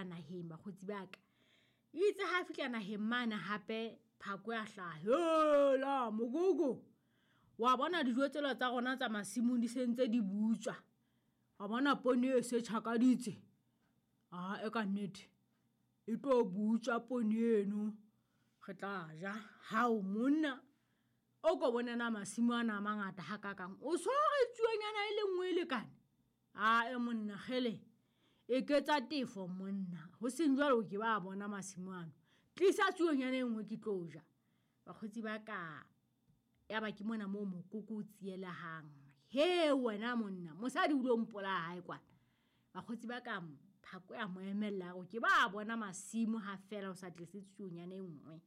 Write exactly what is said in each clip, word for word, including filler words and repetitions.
boela naheng bakgotsi ba ka. Itse ha fihla naheng mane hape Phakwe a hlaha, hela mokoko, wa bona dijo tsela tsa rona tsa masimong di sentse di butswa, wa bona poone e se tjhakaditse, a e ka nnete e tlo butswa poone eno, re tla ja. Hao monna, o ko bone na masimo ana a mangata hakakang, o so re tsuonyana e le nngwe e lekane. A e monna kgele, e ketsa tefo monna, ho seng jwalo ke ba bona masimo ano, tlisa tsuonyana e nngwe ke tlo ja. Bakgotsi ba ka, ya ba ke mona moo mokoko o tsielehang, he wena monna, mosadi o lo mpolaya hae kwana. Bakgotsi ba ka, Phakwe a mo emella hore ke ba bona masimo ha fela o sa tlise tsuonyana e nngwe.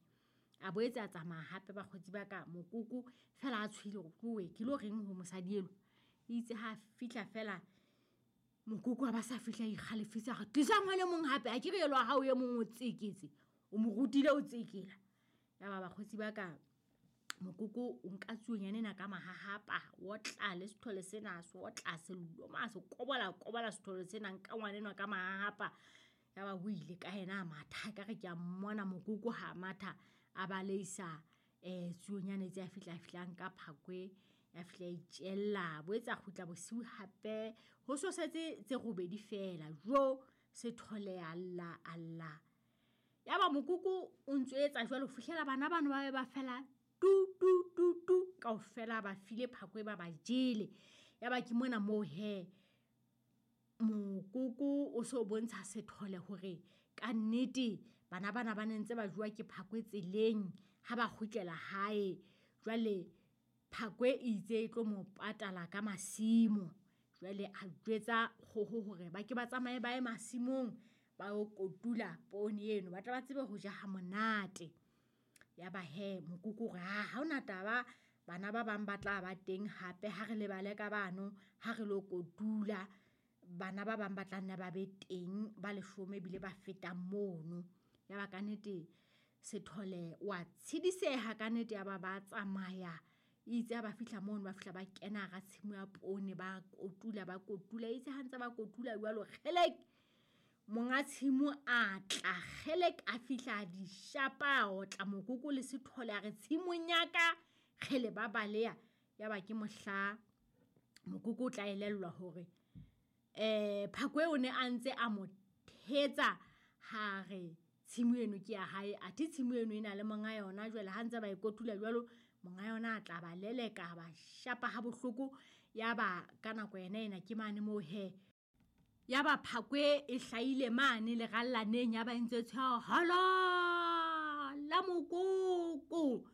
A boetse a tsamaya hape bakgotsi ba ka, mokoko fela a tshohile hore tlowe ke lo reng ho mosadi elo. Itse ha fihla fela mokoko a ba sa fihla ikgalefisa, re tlisa ngwana e mong hape, a ke re elo wa hao e mong o tseketse, o mo rutile o tsekela. Ya ba bakgotsi ba ka, mokoko o nka tsuonyana ena ka mahahapa, o tla le sethole sena, se otla se loma, se kobola kobola sethole sena, nka ngwana enwa ka mahahapa. Ya ba o ile ka yena a matha, ka re ke a mmona mokoko ha matha, a baleisa eh tsuonyana tse a fihla fihlang ka Phakwe, ya fihla itjella. Boetsa kgutla bosiu hape, ho so setse tse robedi fela, jo sethole a lla a lla. Ya ba mokoko o ntso etsa jwalo ho fihlela bana bano ba be ba fela tu tu tu tu kaofela ba file Phakwe ba ba jele. Ya ba ke mona moo he mokoko o so bontsha sethole hore ka nnete bana bana ba ne ntse ba jowa ke Phakwe tseleng ha ba kgutlela hae. Jwale Phakwe itse e tlo mo patala ka masimo. Jwale a jwetsa kgoho hore ba ke ba tsamaye ba ye masimong ba yo kotula poone eno, ba tla ba tsebe ho ja ha monate. Ya ba he mokoko hore ha ha hona taba, bana ba bang ba tla ba teng hape, ha re lebale ka bano ha re lo kotula, bana ba bang ba tla nna ba be teng ba leshome ebile ba fetang mono. Ya ba ka nnete sethole wa tshediseha ka nnete, ya ba ba tsamaya. Itse ha ba fihla mono, ba fihla ba kena hara tshimo ya poone, ba kotula ba kotula. Itse ha ntse ba kotula jwalo, kgelek, monga tshimo a tla, kgelek a fihla di shapa, o tla mokoko le sethole a re tshimong ya ka, kgele ba baleha. Ya ba ke mohla mokoko o tla elellwa hore eh Phakwe o ne a ntse a mo thetsa ha re tshimo eno ke ya hae, athe tshimo eno e na le monga yona. Jwale ha ntse ba e kotula jwalo, monga yona a tla ba leleka, ba shapa ha bohloko. Ya ba ka nako yena ena ke mane moo he, ya ba Phakwe e hlahile mane lerallaneng, ya ba ntse tsha hala la mokoko,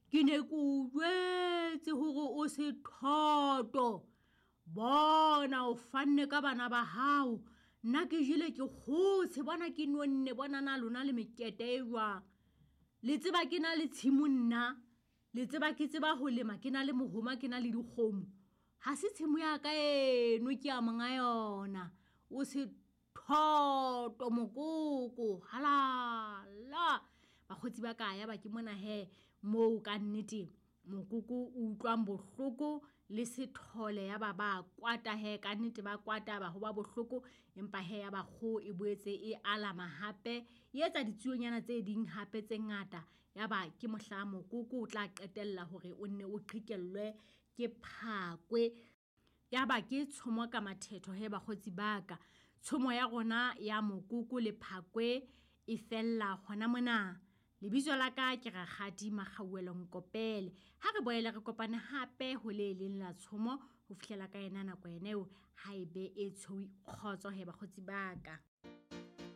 ke ne ke o jwetse hore o sethoto, bona o fanne ka bana ba hao, nna ke jele ke kgotshe, bona ke nonne, bona na lona le mekete e jwang, le tseba ke na le tshimo nna, le tseba ke tseba ho lema, ke na le mohoma, ke na le dikgomo, ha se tshimo ya ka eno, ke ya monga yona, o sethoto mokoko, halala. Bakgotsi ba ka, ya ba ke mona he moo ka nnete mokoko o utlwang bohloko le sethole, ya ba ba kwata he ka nnete, ba kwata ba ho ba bohloko, empa he ya ba kgoho e boetse e alama hape, e etsa ditsuonyana tse ding hape tse ngata. Ya ba ke mohla mokoko o tla qetella hore o nne o qhekellwe ke Phakwe. Ya ba ke tshomo ka mathetho he bakgotsi ba ka, tshomo ya rona ya mokoko le Phakwe e fella hona mona. Lebitso la ka ke Rakgadi Makgauwelo Nkopele. Ha re boele re kopane hape ho le leng la tshomo ho fihlela ka yena nako ena eo, ha e be e tshweu kgotso he bakgotsi ba ka.